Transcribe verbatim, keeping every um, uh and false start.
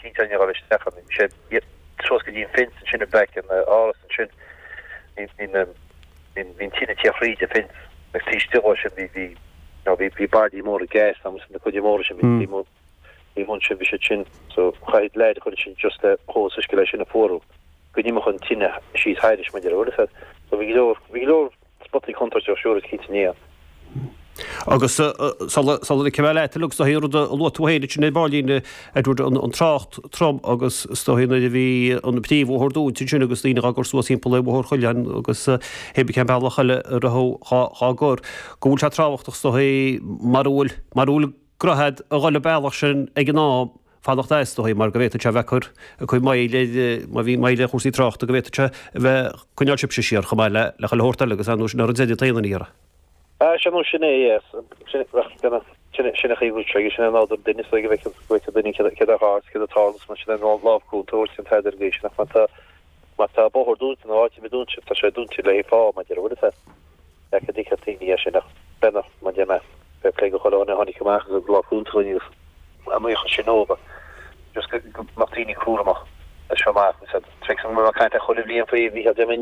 cinnte ní raibh isteach ann sé suas go dtí an fence ansin i back an áras ansin bhí bhí tine te thríd an fence agus taobh istigh sin bhí bhí no bhí bhí bardaí móra gas agus na cuid móra sin bhí bhí mun sin bhí siad sin so chaithfidh leid chun sin just le hós uisce leis sin a fuarú go n-imeodh an tine síos thairis mar a bhfuil so bhí go leor bhí go leor spotaí contúirteach siúr is cinnte ní Agus sula cibé leat agus dóigh rud a luaigh tú féin sin é Báilín Edward an trácht trom agus is dóigh nuair a bhí an príomhbhóthar dúnta sin agus daoine á gcur suas timpeall Bhóthar Choileáin agus hébí cén bealach eile a raibh á gcur go bhfuil sé tábhachtach is dóigh mar bhfuil mar bhfuil droichead a dhul an bealach sin ag an am fanacht as is dóigh mar go bhféadfadh sé bheith cur cur moill má bhí moill ar chúrsaí tráchta go bhféadfadh sé a bheith coinneáil sibhse siar chomh maith le le chuile shórt eile agus an sin ar an deireadh taon an iarraidh. Ah sin sin é yes sin sin sin a chaoi sé sin an nádúr duine so go bhfeiceann go bhfeiceann duine céard céard a tharla céard a tharla mar sin an lámh cúnta sin tá ar gcéis nach má tá má tá bóthar dúnta nó áit a dúnta tá sé dúnta le fáth mar deir bhfuil é go dtí daoine sin ach b'fhéidir mar deir mé fair play go chuile dhuine a tháinig amach agus lámh cúnta agus amuigh sin óba just go mbeadh daoine cúramach seo amach tré an caint chuile bhliain faoi bhí